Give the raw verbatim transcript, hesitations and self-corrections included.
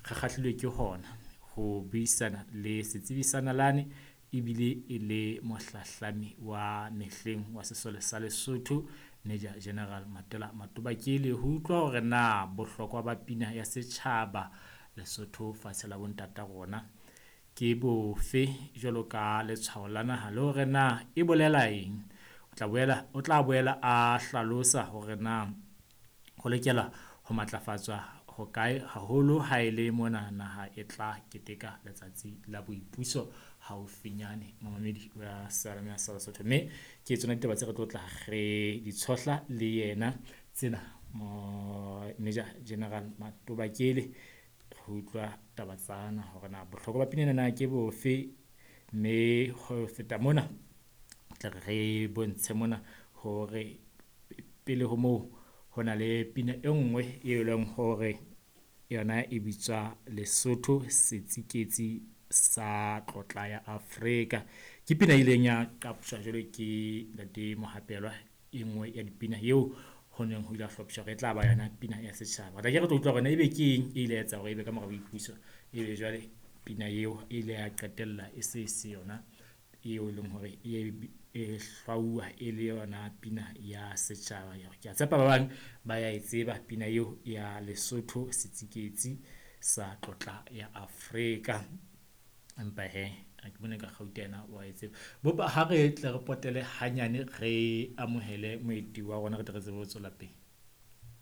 Re kgahlilwe ke hona ho buisana le setsebi sa nalane ebile e le mohlahlami wa mehleng wa sesole sa Lesotho, Major General Matela Matobakele, ho utlwa hore na bohlokwa ba pina ya setjhaba Lesotho fatshe la bontata rona ke bofe jwalo ka letshwao la naha, le hore na e bolela eng. O tla boela o tla boela a hlalosa hore na ho lokela ho matlafatswa hokae haholo ha e le mona naha e tla keteka letsatsi la boipuso haufinyane, momamedi wa seyalemoya sa Basotho. Mme ke tsona ditaba tse re tlo tla re di tshohla le yena tsena mo Major General Matobakele, re utlwa taba tsana hore na bohlokwa ba pina ena na ke bofe, mme ho feta mona tla re re bontshe mona hore pele ho moo ho na le pina e nngwe e leng hore yona e bitswa Lesotho setsiketsi sa tlotla ya Afrika. Ke pina e ileng ya qaptjwa jwalo ke ntate Mohapeloa, e nngwe ya dipina eo ho neng ho ile ha hlophiswa hore e tla ba yona pina ya setjhaba. Re tla ke re tlo utlwa hore na ebe ke eng e ile ya etsa hore ebe ka mora boipuso ebe jwale pina eo e ile ya qetella e se se yona eo e leng hore e e hlwauwa e le yona pina ya setjhaba. Ke a tshepa ba bang ba ya e tseba pina eo ya Lesotho setsiketsi sa tlotla ya Afrika. Empa hee ha ke bone ka kgauta yena wa e tseba. Bopa ha re tle re potele hanyane, re amohele moeti wa rona, re tle re tsebe ho tswela pele.